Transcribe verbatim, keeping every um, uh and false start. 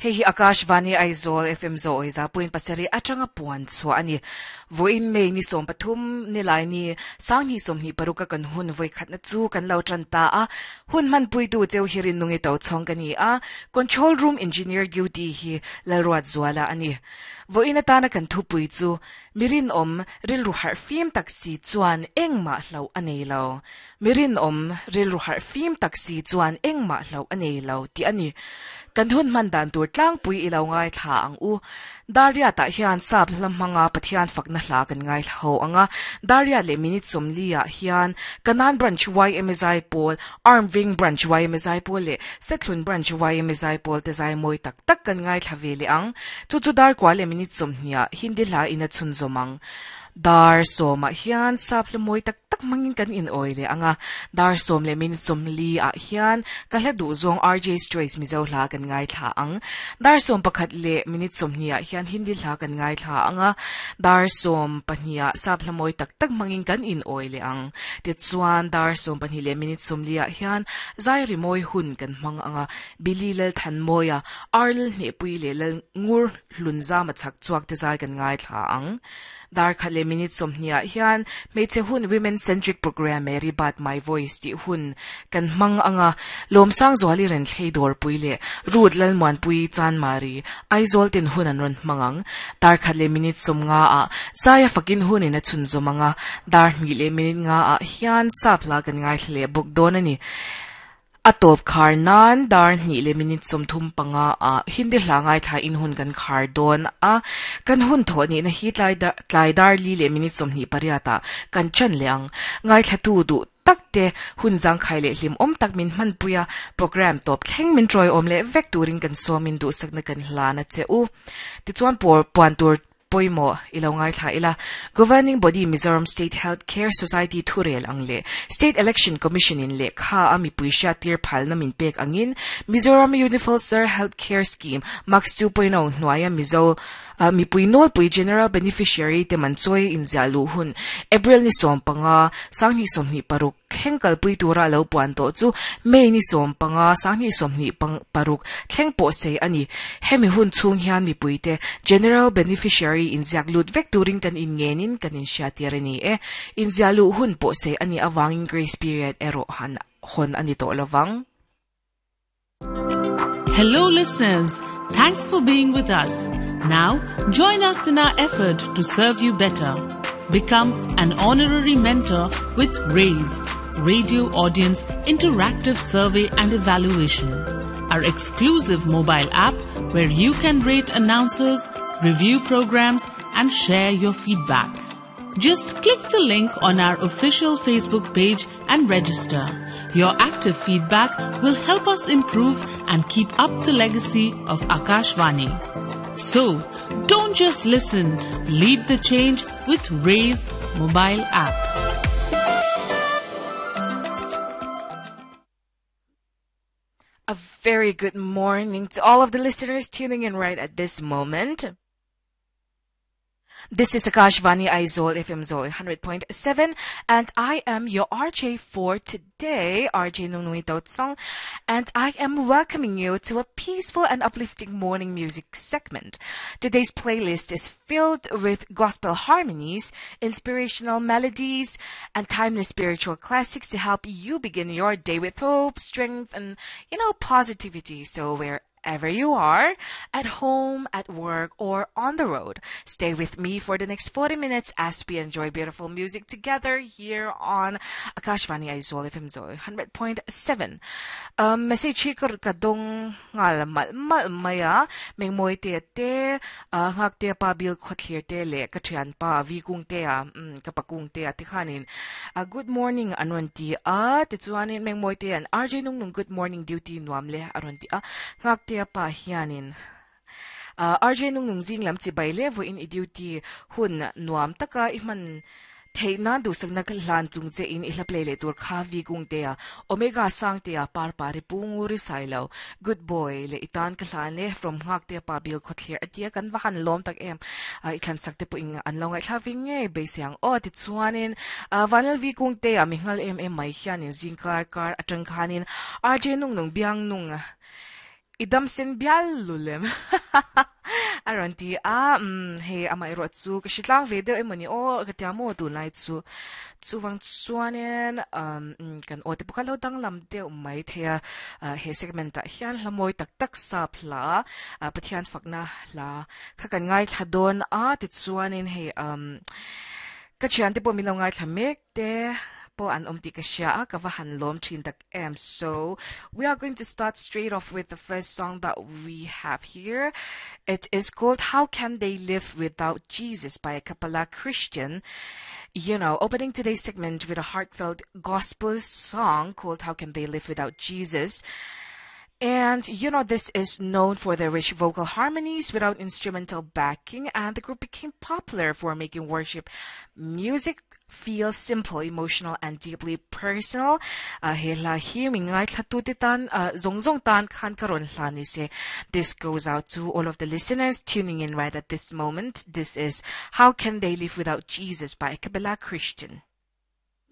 Hei hi Akashvani Aizawl F M zo oiza point pasari atanga puan chua ani voin mei ni som pathum ni lai ni sang hi som hi paruka kan hun voi khat na chu kan lo tran ta a hun man pui tu cheu hirin nungi to chong kan ni a control room engineer duty hi lalruat zuala ani voin atana kan thu pui chu mirin om ril ru har fim taxi chuan engma hlo anei lo mirin om ril ru har fim taxi chuan engma hlo anei lo ti ani kan hun man dan tur tlang pui ilo ngai tha ang u daria ta hian sap lam hmanga pathian fakna hla kan ngai ho anga daria le minute somlia hian kanan branch Y M S I pol arm wing branch Y M S I pol le sethlun branch Y M S I pol te zai moi tak tak kan ngai thla ve le ang chu chu dar kwa le minute somhnia hindi hla ina chun zomang dar soma hian sap le moi tak tak mangin kan in oile anga dar som le min som li a hian ka hla du zong R J Choice mizo hla kan ngai thla ang dar som pakhat le minute som nia hian hindi hla kan ngai thla anga dar som pahnia sap hla moi tak tak mangin kan in oile ang ti chuan dar som pahnih le minute som li a hian zai ri moi hun kan hmang anga bili lal than moya arl ne pui le lal ngur hlun za ma chak chuak te zai kan ngai thla ang dar khat le minute som nia hian meiche hun women centric program Mary Bat My Voice ti hun kan mang anga lomsang zwali ren thlei dor pui le rut lal muan pui chan mari Aizawl tin hun an ron mangang dar khat le minute som nga a zaya fakin hun ina chun zomanga dar mi le minute nga a hian sapla kan ngai thle buk don ani atop khar nan dar ni le minute som thum panga a hindi hla ngai tha in hun kan khar don a kan hun tho ni na hi tlai da tlai dar li le minute som ni pariata kan chan leang ngai thla tu du takte hun jang khai le hlim om tak min man puya program top thleng min troi om le vek turin kan somin du sakna kan hlana che u ti chuan por puan tur poimo ilo ngai thla ila governing body Mizoram State Health Care Society thurel angle State Election Commission in le kha ami puisha tir phalna min pek angin Mizoram Universal Health Care Scheme Max two point oh hnuaia Mizo uh, mi pui nol pui general beneficiary te man choi in zalu hun April ni som panga sangni somni paruk thlengkal pui tura lo puan to chu May ni som panga sangni somni pang paruk thleng po sei ani hemi hun chung hian mi pui te general beneficiary in zaklut vek turin kan in ngenin kan in shatirani e in zalu hun po sei ani awangin grace period ero han hon ani to lawang. Hello listeners, thanks for being with us. Now join us in our effort to serve you better. Become an honorary mentor with RAISE, Radio Audience Interactive Survey and Evaluation, our exclusive mobile app where you can rate announcers, review programs and share your feedback. Just click the link on our official Facebook page and register. Your active feedback will help us improve and keep up the legacy of Akashvani. So, don't just listen, lead the change with RAISE mobile app. A very good morning to all of the listeners tuning in right at this moment. This is Akashvani Aizawl F M Zol one hundred point seven, and I am your R J for today, R J Nunui Totsong, and I am welcoming you to a peaceful and uplifting morning music segment. Today's playlist is filled with gospel harmonies, inspirational melodies, and timeless spiritual classics to help you begin your day with hope, strength, and, you know, positivity. So we're wherever you are, at home, at work, or on the road. Stay with me for the next forty minutes as we enjoy beautiful music together here on Akashvani Aizawl F M Zoi one hundred point seven. Um, message hi kar kadong ngal mal mal maya meng moi te te ngak te pa bil khotlir te le ka thian pa vi kung te a ka pakung te a ti khanin. Good morning anon ti a ti chuanin meng moi te an R J nung nung good morning duty nuam le aron ti a ngak te pa hianin uh, R J nung nung jing lam chi bai le vo in duty hun nuam taka i man theina du sakna hlan chung che in ihla play le tur kha vi kung te a omega sang te a par pari punguri sailo good boy le itan ka hlan le from ngak te pa bil khothlir atia kan wa han lom tak em i thlan sak te pu ing an longai thla vi nge be siang o ti chuanin vanal vi kung te a mingal em em mai hianin jing kar kar atang khanin R J nung nung biang nung Idam sen bial lulem. Aron ti a um hei amai ro chu ka shitlang ve deuh emoni o ka tia mo tu lai chu chuwang chuanin um kan o te pukha lo dang lam deuh mai thea he segment ah hian hlamoi tak tak sap hla Pathian fakna hla kha kan ngai thla dawn a ti chuanin hei um ka thian te pawh min lo ngai thla mek te po an om ti ka sia a ka va han lom thin tak em. So we are going to start straight off with the first song that we have here. It is called How Can They Live Without Jesus by a Cappella Christian. You know, opening today's segment with a heartfelt gospel song called How Can They Live Without Jesus. And, you know, this is known for their rich vocal harmonies without instrumental backing, and the group became popular for making worship music feel simple, emotional, and deeply personal. Uh, he hla hi mi ngai thla tu te tan, uh, zong zong tan khan karon hla ni se. This goes out to all of the listeners tuning in right at this moment. This is How Can They Live Without Jesus by Cappella Christian.